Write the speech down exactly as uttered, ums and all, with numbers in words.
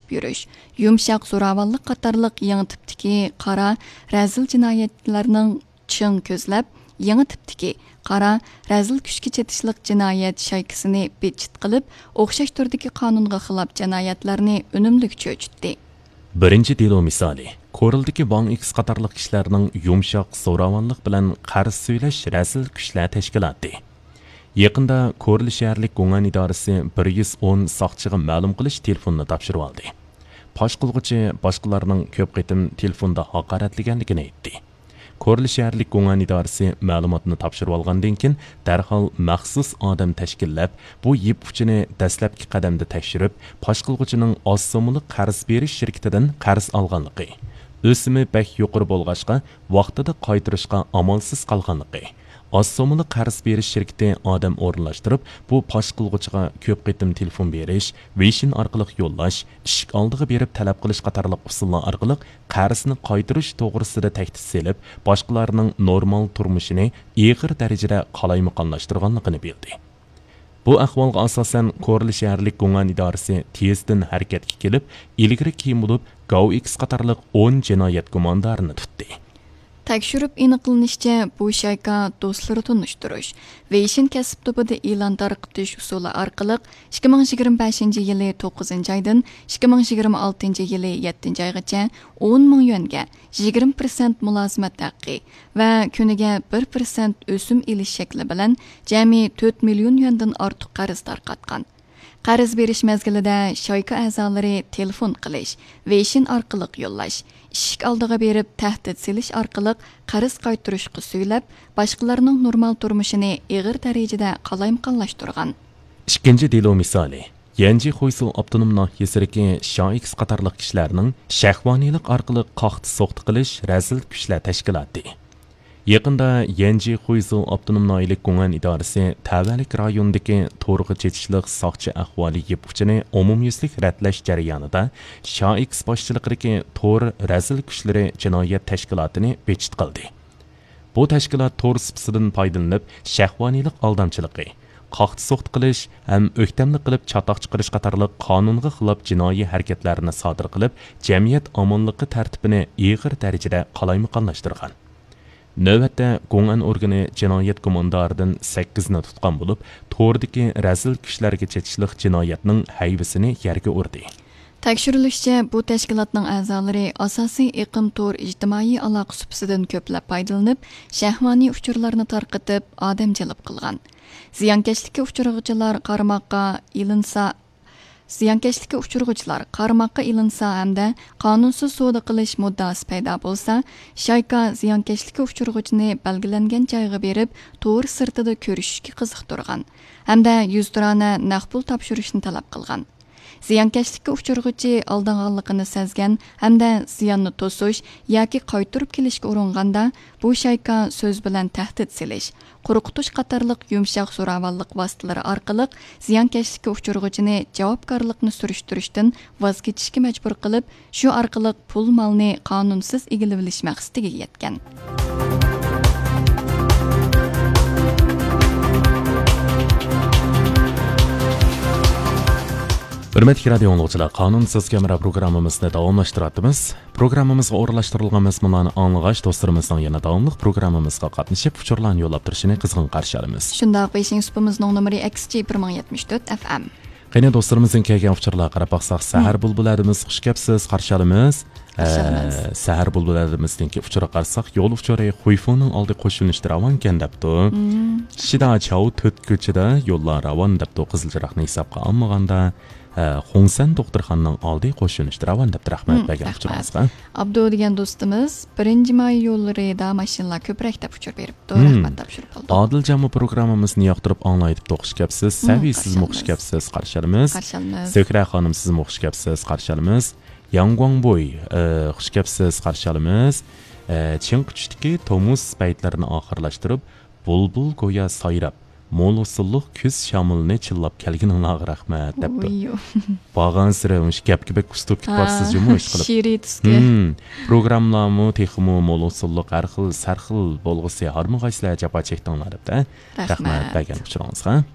ئېلىپ يۈرۈش، يۇمشاق زوراۋانلىق قاتارلىق يېڭى تىپتىكى قارا، رەزىل جىنايەتلەرنىڭ چىڭ كۆزلەپ، يېڭى تىپتىكى قارا، رەزىل كۈچكە چېتىشلىق جىنايەت شايكىسىنى بىتچىت قىلىپ، ئوخشاش تۈردىكى قانۇنغا خىلاپ جىنايەتلەرنى ئۈنۈملۈك چۆچۈتتى. بىرىنچى دېلو مىسالى، كورلىدىكى ۋاڭ ئېكس قاتارلىق كىشىلەرنىڭ يۇمشاق زوراۋانلىق بىلەن قەرز سۈيلەش رەزىل كۈچلەر تەشكىلاتى. يېقىندا كورلا شەھەرلىك گۇڭئەن ئىدارىسى بىر يۈز ئون ساقچىغا مەلۇم قىلىش تېلېفونىنى تاپشۇرۇۋالدى. پاش قىلغۇچى باشقىلارنىڭ كۆپ قېتىم تېلېفوندا ھاقارەتلىگەنلىكىنى ئېيتتى. كورلا شەھەرلىك گۇڭئەن ئىدارىسى مەلۇماتنى تاپشۇرۇۋالغاندىن كېيىن، دەرھال مەخسۇس ئادەم تەشكىللەپ، بۇ يىپ ئۇچىنى دەسلەپكى قەدەمدە تەكشۈرۈپ، پاش قىلغۇچىنىڭ ئاز سوممىلىق قەرز بېرىش شىركىتىدىن قەرز ئالغانلىقى، ئۆسۈمى بەك يۇقىرى بولغاچقا، ۋاقتىدا قايتۇرۇشقا ئامالسىز قالغانلىقى، ئاز سوممىلىق قەرز بېرىش شىركىتى ئادەم ئورۇنلاشتۇرۇپ، بۇ پاش قىلغۇچىغا كۆپ قېتىم تېلېفون بېرىش، ۋېيشىن ئارقىلىق يوللاش، ئىشىك ئالدىغا بېرىپ تەلەپ قىلىش قاتارلىق ئۇسۇللار ئارقىلىق قەرزنى قايتۇرۇش توغرىسىدا تەھدىت سېلىپ، باشقىلارنىڭ نورمال تۇرمۇشىنى ئېغىر دەرىجىدە قالايمىقانلاشتۇرغانلىقىنى بىلدى. بۇ ئەھۋالغا ئاساسەن، كورلا شەھەرلىك گۇڭئەن ئىدارىسى تېزدىن ھەرىكەتكە كېلىپ، ئىلگىرى كېيىن بولۇپ گاۋ ئېكس قاتارلىق ئون جىنايەت گۇماندارىنى تۇتتى. تەكشۈرۈپ ئېنىقلىنىشىچە، بۇ شايكا دوستلىرى تونۇشتۇرۇش، ۋېيشىن كەسىپ توپىدا ئېلان تارقىتىش ئۇسۇلى ئارقىلىق ئىككى مىڭ يىگىرمە بەشىنچى يىلى توققۇزىنچى ئايدىن ئىككى مىڭ يىگىرمە ئالتىنچى يىلى يەتتىنچى ئايغىچە ئون مىڭ يۈەنگە يىگىرمە پىرسەنت مۇلازىمەت ھەققى ۋە كۈنىگە بىر پىرسەنت ئۆسۈم ئېلىش شەكلى بىلەن جەمئىي تۆت مىليون يۈەندىن ئارتۇق قەرز تارقاتقان. قەرز بېرىش مەزگىلىدە شايكا ئەزالىرى تېلېفون قىلىش، ۋېيشىن ئارقىلىق يوللاش، ئىشىك ئالدىغا بېرىپ تەھدىت سېلىش ئارقىلىق قەرز قايتۇرۇشقا سۈيلەپ، باشقىلارنىڭ نورمال تۇرمۇشىنى ئېغىر دەرىجىدە قالايمىقانلاشتۇرغان. ئىككىنچى دېلو مىسالى، يەنجى خۇيزۇ ئاپتونوم ناھىيەسىدىكى شائىكس قاتارلىق كىشىلەرنىڭ شەھۋانىيلىق ئارقىلىق قاقتى سوقتى قىلىش رەزىل كۈچلەر تەشكىلاتى. يېقىندا يەنجى خۇيزۇ ئاپتونوم ناھىيەلىك گۇڭئەن ئىدارىسى تەۋەلىك رايونىدىكى تورغا چېتىشلىق ساقچى ئەھۋالى يىپ ئۇچىنى ئومۇميۈزلۈك رەتلەش جەريانىدا شائىكس باشچىلىقىدىكى تور رەزىل كۈچلىرى جىنايەت تەشكىلاتىنى بېجىت قىلدى. بۇ تەشكىلات تور سۇپىسىدىن پايدىلىنىپ، شەھۋانىيلىق ئالدامچىلىقى، قاقتى سوقتى قىلىش ھەم ئۆكتەملىك قىلىپ چاتاق چىقىرىش قاتارلىق قانۇنغا خىلاپ جىنايى ھەرىكەتلەرنى سادىر قىلىپ، جەمئىيەت ئامانلىقى تەرتىپىنى ئېغىر دەرىجىدە قالايمىقانلاشتۇرغان. نۆۋەتتە، گۇڭئەن ئورگىنى جىنايەت گۇماندارىدىن سەككىزنى تۇتقان بولۇپ، توردىكى رەزىل كۈچلەرگە چېتىشلىق جىنايەتنىڭ ھەيۋىسىنى يەرگە ئۇردى. تەكشۈرۈلۈشىچە، بۇ تەشكىلاتنىڭ ئەزالىرى ئاساسىي ئېقىم تور ئىجتىمائىي ئالاقە سۇپىسىدىن كۆپلەپ پايدىلىنىپ، شەھۋانىي ئۇچۇرلارنى تارقىتىپ، ئادەم جەلپ قىلغان. زىيانكەشلىككە ئۇچرىغۇچىلار قارىماققا ئېلىنسا، زىيانكەشلىككە ئۇچرىغۇچىلار قارىماققا ئېلىنسا ھەمدە قانۇنسىز سودا قىلىش مۇددىئاسى پەيدا بولسا، شايكا زىيانكەشلىككە ئۇچرىغۇچىنى بەلگىلەنگەن جايغا بېرىپ، تور سىرتىدا كۆرۈشۈشكە قىزىقتۇرغان ھەمدە يۈزتۇرانە نەق پۇل تاپشۇرۇشنى تەلەپ قىلغان. زىيانكەشلىككە ئۇچرىغۇچى ئالدانغانلىقىنى سەزگەن ھەمدە زىياننى توسۇش ياكى قايتۇرۇپ كېلىشكە ئۇرۇنغاندا، بۇ شايكا سۆز بىلەن تەھدىت سېلىش، قورقۇتۇش قاتارلىق يۇمشاق زوراۋانلىق ۋاسىتىلىرى ئارقىلىق زىيانكەشلىككە ئۇچرىغۇچىنى جاۋابكارلىقنى سۈرۈشتۈرۈشتىن ۋاز كېچىشكە مەجبۇر قىلىپ، شۇ ئارقىلىق پۇل مالنى قانۇنسىز ئىگىلىۋېلىش مەقسىتىگە يەتكەن. ھۆرمەتلىك رادىيو ئاڭلىغۇچىلار، قانۇنسىز كامېرا پروگراممىمىزنى داۋاملاشتۇرۇۋاتىمىز. پروگراممىمىزغا ئورۇنلاشتۇرۇلغان مەزمۇنلارنى ئاڭلىغاچ، دوستلىرىمىزنىڭ يەنە داۋاملىق پروگراممىمىزغا قاتنىشىپ، ئۇچۇرلارنى يوللاپ تۇرۇشىنى قىزغىن قارشى ئالىمىز. شۇنداق، بېيجىڭ سۇپىمىزنىڭ نومۇرى ئەكس جى بىر مىڭ يەتمىش تۆت ئەف ئەم. قېنى، دوستلىرىمىزدىن كەلگەن ئۇچۇرلارغا قاراپ باقساق، سەھەر بۇلبۇلەدىمىز، خۇش كەپسىز، قارشى ئالىمىز. قارشى ئالىمىز. ئە، سەھەر بۇلبۇلەدىمىزنىڭكى ئۇچۇرىغا قارىساق، يول ئۇچۇرى خۇيفۇنىڭ ئالدى قوشۇلۇشتا راۋانكەن دەپتۇ. مم. شىدا چاۋ تۆت كوچىدا يوللار راۋان دەپتۇ، قىزىل چىراغنى ھېسابقا ئالمىغاندا. ئە، خۇڭسەن دوختۇرخانىنىڭ ئالدى قوشۇلۇشتا راۋان دەپتۇ. رەھمەت مم، بەرگەن رەھمەت. ئۇچۇرىڭىزغا. ئابدۇ دېگەن دوستىمىز، بىرىنچى ماي يوللىرىدا ماشىنىلار كۆپرەك دەپ ئۇچۇر بېرىپتۇ. مم. رەھمەت تاپشۇرۇپ قالدۇق. ئادىلجانمۇ پروگراممىمىزنى ياقتۇرۇپ ئاڭلاي دەپتۇ، خۇش كەپسىز. مم، سەۋىي، سىزمۇ خۇش كەپسىز، قارشى ئالىمىز. قارشى ئالىمىز. سۆھرە خانىم، سىزمۇ خۇش كەپسىز، قارشى ئالىمىز. ياڭگۇاڭبوي، ئە، خۇش كەپسىز، قارشى ئالىمىز. ئە، چىڭقى چۈشتىكى تومۇز پەيتلىرىنى ئاخىرلاشتۇرۇپ، بۇلبۇل گويا سايراپ، مول ھوسۇللۇق كۈز شامىلىنى چىللاپ كەلگىنىڭلارغا رەھمەت، دەپتۇ. ئۇيۇ. بارغانسېرى مۇشۇ گەپكە بەك ئۇستىپكە ھا، بارسىز جۇمۇ، ئىشقىلىپ. شېئىرىي تۈسكە. ھىم، پروگراممىلارمۇ تېخىمۇ مول ھوسۇللۇق، ھەر خىل، سەر خىل بولغۇسى، ھارمىغايسىلەر، جاپا چەكتىڭلار، دەپتۇ. رەھمەت. رەھمەت بەرگەن ئۇچۇرىڭىزغا.